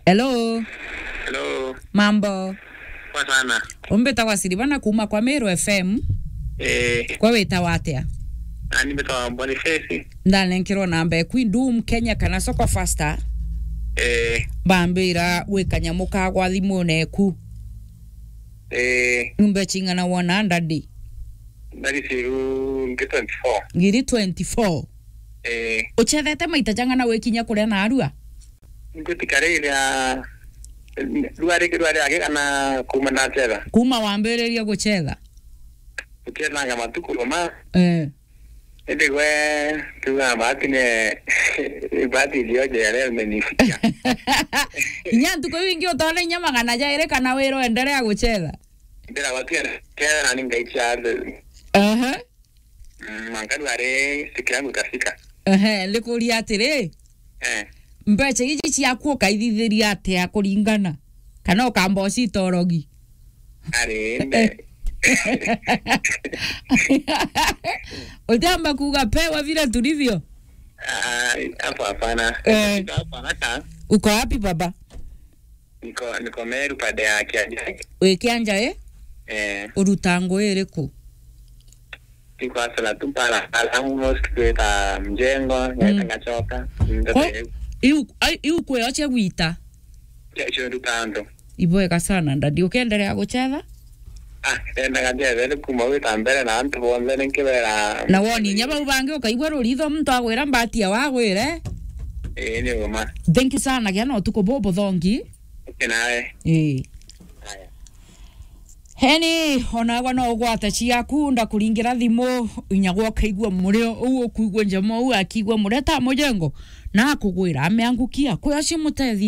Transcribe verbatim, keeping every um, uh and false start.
Hello. Hello. Mambo. Poa sana. Umbitagwa Silvana kuma kwa Meru F M. Eh. Kwa witawa atia? Nani mbitagwa Boniface. Ndanenkerwa namba eku Doom Kenya kana Soko Faster. Eh. Bambira wi kanyamu kagwa thimune eku. Eh. Nyumba chingana wona ndadi? Ndadi siru ngi twenty-four. Ngiri twenty-four. Eh. Uchethete maita jang'ana wikinya kuria na arua? Ngutikarire, rua ringi rwa riagi kana kuma ndatera? Kuma wambiririe gucetha? Gucethanga matuku roma. Eh. Indi gwe tuga bahati ne bahati ilioje ya leo imenifikia. Inya ntuku iu ingi utone inya magana jairi kana wira endelea gucetha? Ndira watu ya kera na ningaicha. Aha. Mm, mwanka rware siku yangu ikafika. Ehe, ndikuria atiri, eh, mbeca iji ciaku ukaithithiria atia kuringana? Kana ukamba ucita urogi? Ari, mbe. Utiamba kuuga pewa vile tulivyo? Ah, hapo hapana. Eh. Hapa haraka. Uko wapi baba? Niko, niko Meru pande ya Kianjai. Wi Kianjai? Eh. Uruta ngugi iriku? Niko hustler tu pala, pala, almost kwita mjengo, mm, ngaita ngachoka. Ndio. Ko, hiyo. Iu, ai, iu kweoche gwita? Kesho nduta ando. Ibwega sana, ndadi. Ukiendelea gucetha? Ah, endaga njethete kuma gwita mbere na antu bonthe ninkibera. Na woni inya bau bangi ukaigua ruritho muntu agwira mbati ya wagwire. Ii, ni uma. Thank you sana, gia na utuku bubu thongi. Okay, nawe. Ii. Haya. Heni, onagwa no ugwate ciaku, ndakuringira thimu, inya gwa ukaigua murio, uu ukuigua njama, uu akigua mureta mujengo, na akugwira, ameangukia, kwi acio mutethie.